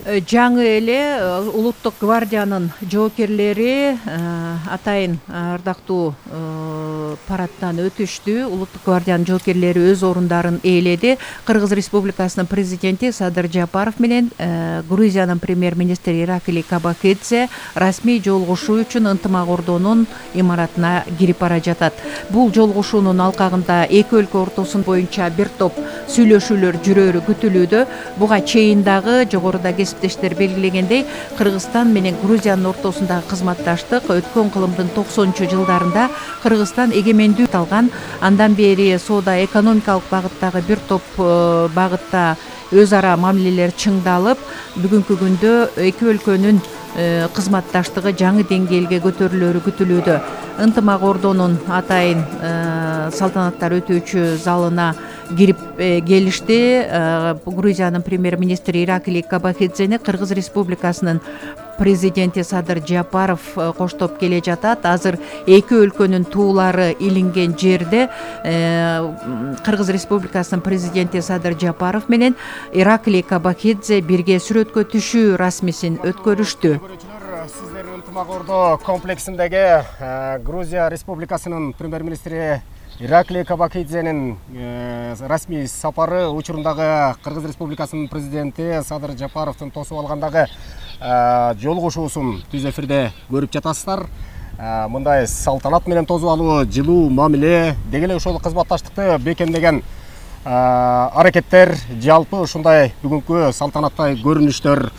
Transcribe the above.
Жаңы эле улуттук гвардиянын жоокерлери атайын ардактуу парадтан өтүштү. Улуттук гвардиянын жоокерлери өз орундарын ээледи. Кыргыз Республикасынын президенти Садыр Жапаров менен Грузиянын премьер-министри Ираклий Кабахидзе расмий жолугушуу үчүн ынтымак ордонун имаратына кирип бара жатат. Бул жолугушуунун алкагында эки өлкө ортосун боюнча бир топ сүйлөшүүлөр жүрөрү күтүлүүдө. Буга чейин дагы жогоруда кесиптештер белгилегендей, Кыргызстан менен Грузиянын ортосундагы кызматташтык өткөн кылымдын 90-жылдарында Кыргызстан эгемендүү алган. Андан бери соода экономикалык багыттагы бир топ багытта өз ара мамилелер чыңдалып, бүгүнкү күндө эки өлкөнүн кызматташтыгы жаңы деңгээлге көтөрүлөрү күтүлүүдө. Ынтымак ордонун атайын салтанаттар өтүүчү залына кирип келишти. Грузиянын премьер-министри Ираклий Кабахидзени Кыргыз Республикасынын президенти Садыр Жапаров коштоп келе жатат. Азыр эки өлкөнүн туулары илинген жерде Кыргыз Республикасынын президенти Садыр Жапаров менен Ираклий Кабахидзе бирге сүрөткө түшүү расмисин өткөрүштү. Сиздер ынтымак ордо комплексиндеги Грузия Республикасынын премьер-министри Ираклий Кабахидзенин расмий сапары учурундагы Кыргыз Республикасынын президенти Садыр Жапаровдун тосуп алгандагы жолугушуусун түз эфирде көрүп жатасыздар. Мындай салтанат менен тосуп алуу, жылуу мамиле, деги эле ошол кызматташтыкты бекемдеген аракеттер, жалпы ушундай бүгүнкү салтанаттай көрүнүштөр